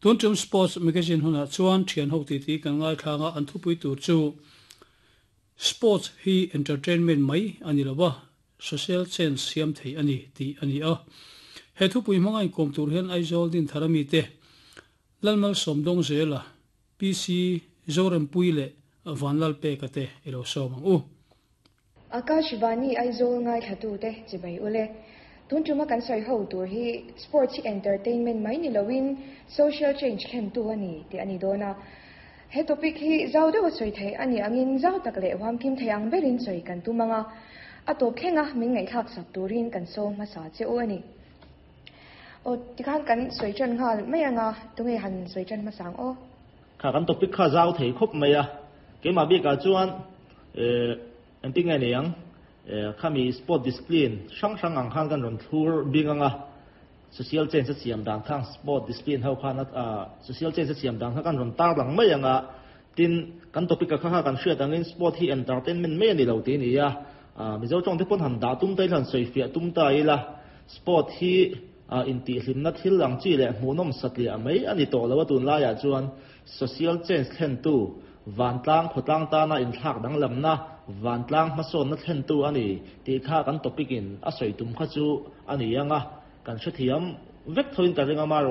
Tun tum Sports Magazine hunah chuan thian ho titi kan ngaithlang a, an thupui tur chu Sports hi entertainment mai a ni lo a, social change siam thei a ni tih a ni a. He thupui hmanga inkawm tur hian Aizawl Dinthar amite Lalmalsawm Dawngzela, PC Zorempuii leh Vanlalpeka te i lo sawm ang u. Akashvani Aizawl ngaithlatute chibai ule. Tun tuma kan sawi ho tur hi sports hi entertainment mai ni loin social change thlentu a ni tih a ni dawn a. He topic hi zau deuha sawi theih a nih angin zau tak leh huamkim thei ang berin sawi kan tum ang a, a tawp thlenga min ngaihthlak sak turin kan sawm hmasa che u a ni. Aw, tikhan kan sawi tan nghal mai ang a, tunge han sawi tan hmasa ang aw? Kha kan topic kha zau thei khawp mai a, keimah bikah chuan eh engtin nge ni ang eh khami sport discipline hrang hrang ang khan kan rawn thlur bing ang a, social change a siam dan khang sport discipline ho khan a social change a siam dan kha kan rawn tar lang mai ang a, tin kan topic a kha kha kan hriat angin sport hi entertainment mai a ni lo tih a ni a, Mizo tawng te pawn han dah tum ta ila han sawifiah tum ta ila sport hi intihhlimna thil ang chi leh hmuhnawm satliah mai a ni tawh lo a tunlaiah chuan social change thlentu vantlang khawtlang tana inthlak danglamna vantlang hmasawnna thlentu a ni tih kha kan topic in a sawi tum kha chu a ni ang a, kan hrethiam vek thoin ka ring a.